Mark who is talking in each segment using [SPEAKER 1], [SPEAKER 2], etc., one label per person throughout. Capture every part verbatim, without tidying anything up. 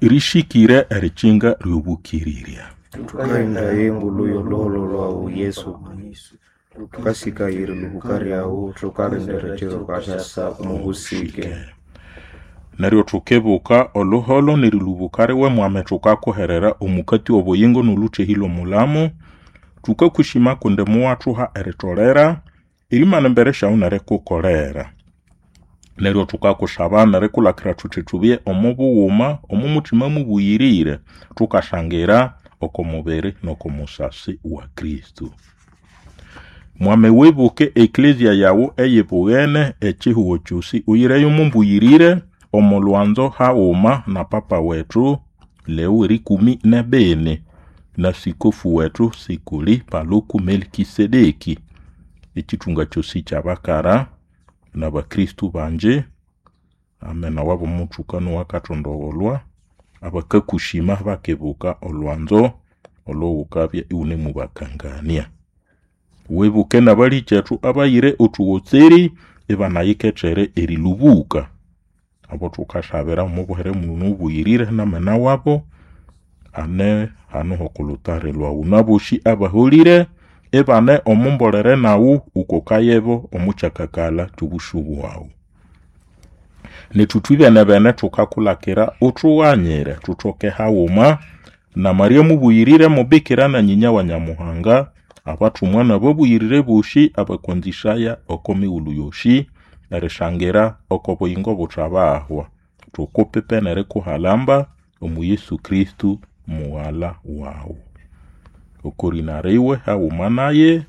[SPEAKER 1] Rishikire erikinga ry'obũkĩrĩrya.
[SPEAKER 2] Tukaghenda engulu y'olhuholho lhwawu Yesu thukasikaya eriluhuka lyawu thukalindira ekiro wukasyasa omubusike.
[SPEAKER 1] Neryo thukibuka olhuholho n'erilubuka riwe mwami thukakuherera omukati w'obuyingo n'olhuthehĩ lw'omulamo. Thukakushima kundi muwathuha eritolera erimana embere syawu n'erikukolera. Neryo thukakusaba n'erikulakira thuthi thubye omo bughuma omo muthima mubuyirire thukashangira oko mubiri n'oko musasi wa Kristo. Mwami wibuke eklezia yawu eyibughene ekihugho kyosi uyireyo mumbuyirire omo lwanzo haghuma na papa wethu Leo erikumi n'ebini na sikofu wethu Sikuli Paluku Melikisedeki ekithunga kyosi ky'abakara n'abakristo bangi amena wabo muthukano wakathondogholwa abakakushima bakibuka olwanzo olowukabya iwunemubakangania. Wibuke n'abalikethu abayire othuwotseri ibanayikethere erilubuka abo thukasabira omo buhere muno obuyirire n'amena wabo ane hanu h'okulhutari lhwawu n'abosi abaholire ibane omo mbolere nawu wukokayebo omo kyakakalha ky'obusu bwawu. Nethu thwibene-bene thukakulakira uthughanyire thuthoke haghuma na Maria mubuyirire mubikira na nyinya wa Nyamuhanga abathumwa n'ababuyirire bosi abakwanzisaya oko mighulhu yosi erishangira oko buyingo buthabahwa. Thukupipe n'erikuhalamba omu Yesu Kristo mughala wawu. Okorina riwe haghuma naye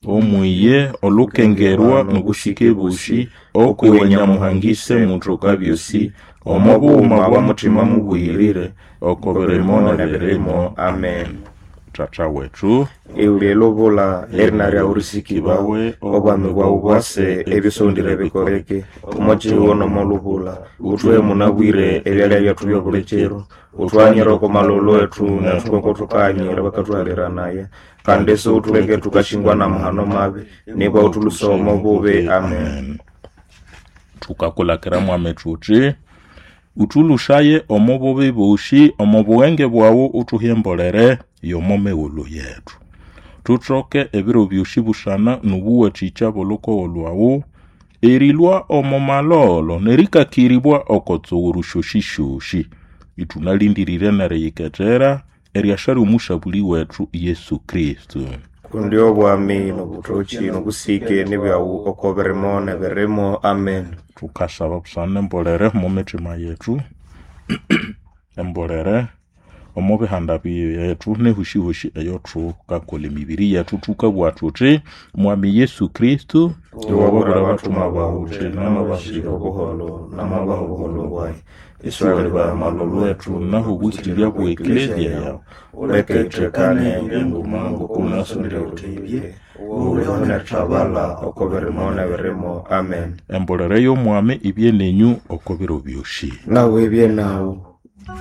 [SPEAKER 1] omwiye olukengerwa n'obushike bosi okwiwe Nyamuhanga Ise muthoka byosi omo bughuma bwa muthima mubuyirire oko birimo n'ebirimo.
[SPEAKER 2] Amen.
[SPEAKER 1] Tata wethu
[SPEAKER 2] Iwulye lubula erina lyawu risikibawe obwami bwawu bwase ebisondire bikoleke omo kihugho n'omo lubula uthuhe munabwire ebyalya byethu byobuli kiro uthughanyire oko malholo ethu nethu ngoko thukahanyira bakathuhaliranaye kandi isiwuthuleke thukashingwa n'amahano mabi nibwa uthulhusa omo bubi. Amen.
[SPEAKER 1] Thukakulakira mwami thuthi uthulhusaye omo bubi bosi omo bughenge bwawu uthuhe embolere y'omo mighulhu yethu. Thuthoke ebiro byosi busana n'obuwathikya bw'olhukogo lhwawu erilhwa omo malholo n'erikakiribwa oko tsughuru syosisyosi ithunalindirire n'eriyikethera eryasa ly'omusabuli wethu Yesu Kristo.
[SPEAKER 2] Kundi obwami n'obuthoki n'obusike nibyawu oko birimo n'ebirimo. Amen.
[SPEAKER 1] Thukasaba busana embolere omo mithima yethu embolere omo bihanda byethu n'ehusihusi eyothukakolha emibiri yethu thukabugha thuthi mwami Yesu Kristo
[SPEAKER 2] Iwabura abathumwa bawu uthi namabasira obuholo namabaha obuholo bwayi
[SPEAKER 1] Iswali amalolo ethu naho obwikirirya bwa eklezia yawu
[SPEAKER 2] uleke ithekane enguma ngokunasondere uthebye uleho nethabala oko birimo n'ebirimo. Amen.
[SPEAKER 1] Embolere y'omwami ibye nenyu oko biro byosi.
[SPEAKER 2] Nawe ibye nawu.